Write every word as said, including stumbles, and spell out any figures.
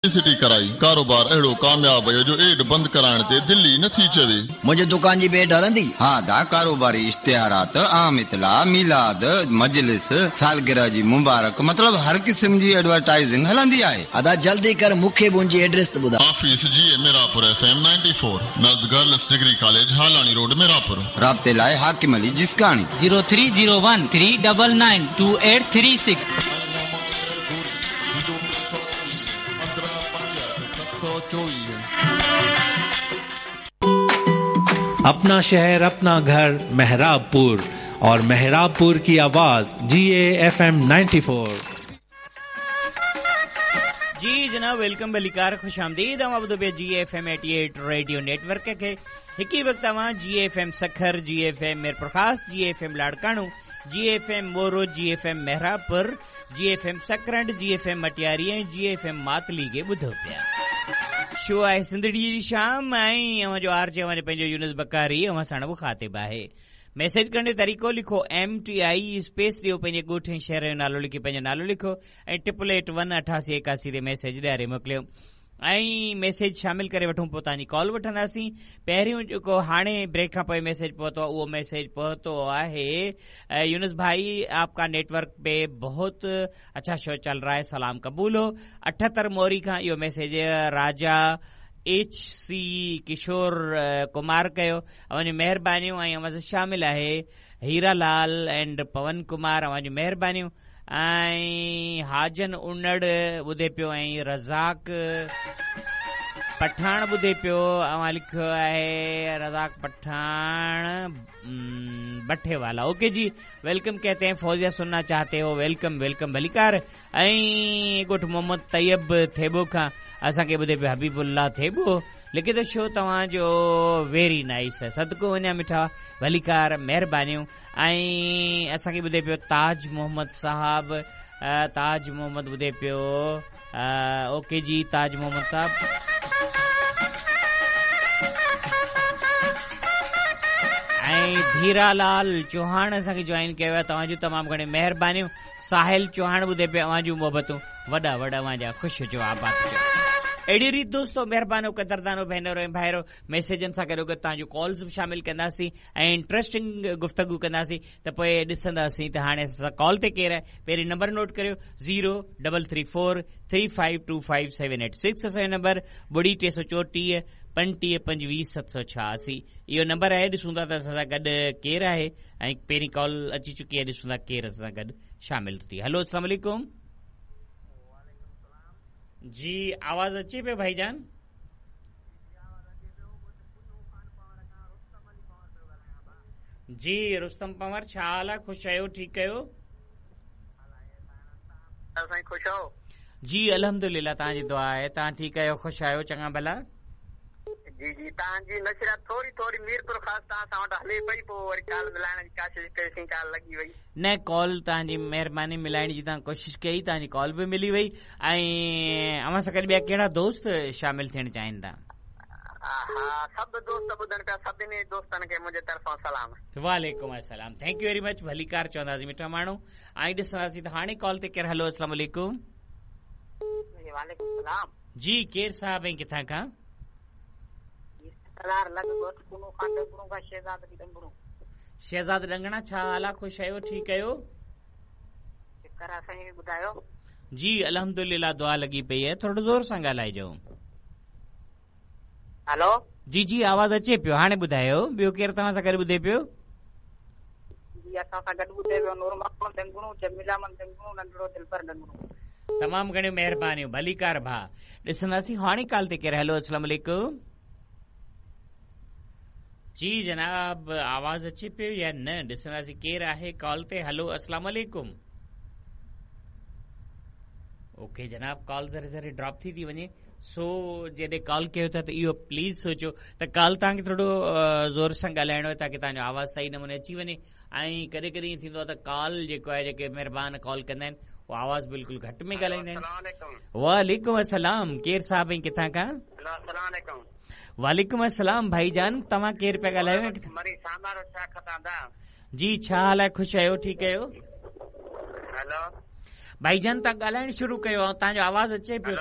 Publicity कराई। कारोबार अहिड़ो कामयाब वियो जो एड बंदि कराइण ते दिलि ई नथी चवे। मुंहिंजे दुकान जी बि एड हलंदी? हा दा, कारोबारी इश्तिहारात, आम इतला, मीलाद, मजलिस, सालगिरह जी मुबारक, मतलब हर क़िस्म जी एडवर्टाइजिंग हलंदी आहे। अदा जल्दी कर, मूंखे बि उनजी एड्रेस त ॿुधाए। Office G A Mirapur F M ninety four, नज़द girls degree college, Halani road, Mirapur. राब्ते लाइ Hakim Ali Jiskani. Zero three zero one three double nine two eight three six. अपना शहर अपना घर मेहराबपुर और मेहराबपुर की आवाज G A F M ninety four. जी जनाब, welcome बलिकार, खुश आमदीद। अवां ॿुधो पिया G F M eighty eight radio network खे। हिकु ई वक़्तु अवां G F M Sukkur, G F M Mirpur Khas, G F M Larkano, G F M Moro, G F M Mehrabpur, G F M Sakrand, G F M Matiari ऐं जी F M Matali खे ॿुधो पिया। Show आहे सिंधड़ी जी शाम ऐं अवां जो R J अवां जो पंहिंजो यूनुस बकारी अवां साण मुखातिब आहे। मैसेज करण जो तरीक़ो लिखो एम टी I space ॾियो, पंहिंजे ॻोठ ऐं शहर जो नालो लिखी पंहिंजो नालो लिखो ऐं ट्रिपल एट वन अठासी एकासी ते मैसेज ॾियारे मोकिलियो ऐं मैसेज शामिल करे वठूं, पोइ तव्हांजी कॉल वठंदासीं। पहिरियों जेको हाणे ब्रेक खां पोइ मैसेज पहुतो आहे, उहो मैसेज पहुतो आहे, यूनुस भाई आपका नेटवर्क पे बहुत अच्छा शो चल रहा है, सलाम कबूल हो। अठहतरि मोरी खां इहो मैसेज राजा एच सी किशोर कुमार कयो। अव्हांजूं महिरबानियूं। ऐं अव्हां सां शामिल आहे हीरा लाल एंड पवन कुमार, अव्हांजूं महिरबानियूं। ऐं हाजन उनड़ ॿुधे पियो ऐं रज़ाक पठाण ॿुधे पियो। अव्हां लिखियो आहे रज़ाक पठाण बठे वाला। ओके जी, welcome कहते हैं। फौजिया सुनना चाहते हो, welcome welcome भलीकार। ऐं ॻोठ मोहम्मद तैयब थेबो खां असांखे ॿुधे पियो हबीबुल्ला थेबो, लिखे थो शो तव्हांजो वेरी नाइस आहे, सदको वञा मिठा, भलीकार, महिरबानियूं। ऐं असांखे ॿुधे पियो ताज मोहम्मद साहब, ताज मोहम्मद ॿुधे पियो। ओके जी ताज मोहम्मद साहब। ऐं धीरालाल चौहान असांखे जॉइन कयो आहे, तव्हांजूं तमामु घणियूं महिरबानियूं। साहिल चौहान ॿुधे पियो, अव्हांजूं मोहबतूं, वॾा वॾा अव्हांजा ख़ुशि हुजो, आबाद हुजो। अहिड़ी रीति दोस्तो, महिरबानो, कदरदानो भेनरो ऐं भाइरो, मैसेजनि सां गॾोगॾु तव्हांजूं कॉल्स बि शामिल कंदासीं ऐं इंटरेस्टिंग गुफ्तगू कंदासीं। त पोइ ॾिसंदासीं त हाणे असां कॉल ते केरु आहे। पहिरीं नंबर नोट करियो, zero double three four three five two five seven eight six असांजो नंबर, ॿुड़ी टे सौ चोटीह पंटीह पंजवीह सत सौ छियासी इहो नंबर आहे। ॾिसूं था त असां सां गॾु केरु आहे ऐं पहिरीं कॉल अची चुकी आहे, ॾिसूं था केरु असां सां गॾु शामिल थी। हलो, अस्सलाम वालेकुम। जी आवाज़ अचे पियो भाईजान? जी रुस्तम पंवर, छा हाल आहे? ख़ुशि आहियो? ठीकु आहियो? जी अल्हम्दुलिल्लाह, तव्हांजी दुआ आहे। तव्हां ठीकु आहियो? ख़ुशि आहियो? चङा भला? जी जी, तव्हांजी नशरियात थोरी थोरी मीरपुर ख़ास तव्हां सां वटि हले पई, पोइ वरी कॉल मिलाइण जी कोशिश कईसीं, कॉल लॻी वई। न, कॉल तव्हांजी महिरबानी, मिलाइण जी तव्हां कोशिश कई, तव्हांजी कॉल बि मिली वई। ऐं अव्हां सां गॾु ॿिया कहिड़ा दोस्त शामिल थियणु चाहिनि था? हा, सभु दोस्त ॿुधनि पिया, सभिनी दोस्तनि खे मुंहिंजे तरफ़ां सलाम। वालेकुम अस्सलाम, thank you very much, भलीकार चवंदासीं मिठा माण्हू। ऐं ॾिसंदासीं त हाणे कॉल ते केरु। हलो, अस्सलाम वालेकुम। वालेकुम सलाम। जी केरु साहब ऐं किथां खां? शहज़ाद डंगणा, छा हाल आहे? ख़ुशि आहियो? ठीकु आहियो? जी अल्हम्दुलिल्लाह, दुआ लॻी पई आहे। थोरो ज़ोर सां ॻाल्हाइजो। हेलो। जी जी, आवाज़ अचे पियो, हाणे ॿुधायो। ॿियो केरु तव्हां सां गॾु ॿुधे पियो? जी असां सां गॾु ॿुधे पियो नूर मोहम्मद डंगणो, जमीला डंगणो, नंढड़ो दिलबर डंगणो। तमामु घणियूं महिरबानियूं, भलीकार भाउ। ॾिसंदासीं हाणे कॉल ते केरु। हलो, अस्सलाम वालेकुम। जी जनाब, आवाज़ अचे पियो या न? ॾिसंदासीं केरु आहे कॉल ते। हलो, अस्सलाम वालेकुम। ओके जनाब, कॉल ज़रे ज़रे ड्रॉप थी थी वञे, सो जॾहिं कॉल कयो था त इहो प्लीज़ सोचो त कॉल तव्हांखे थोरो ज़ोर सां ॻाल्हाइणो आहे ताकी तव्हांजो आवाज़ सही नमूने अची वञे। ऐं कॾहिं कॾहिं ईअं थींदो आहे त कॉल जेको आहे, जेके महिरबान कॉल कंदा आहिनि, उहो आवाज़ बिल्कुलु घटि में ॻाल्हाईंदा आहिनि। वालेकुम अस्सलाम। केरु साहिबु ऐं किथां खां? वालेकुम अस्सलाम भाईजान, तव्हां केरु पिया ॻाल्हायो? जी छा हाल आहे? ख़ुशि आहियो? ठीकु आहियो? भाईजान, तव्हां ॻाल्हाइणु शुरू कयो, तव्हांजो आवाज़ अचे पियो।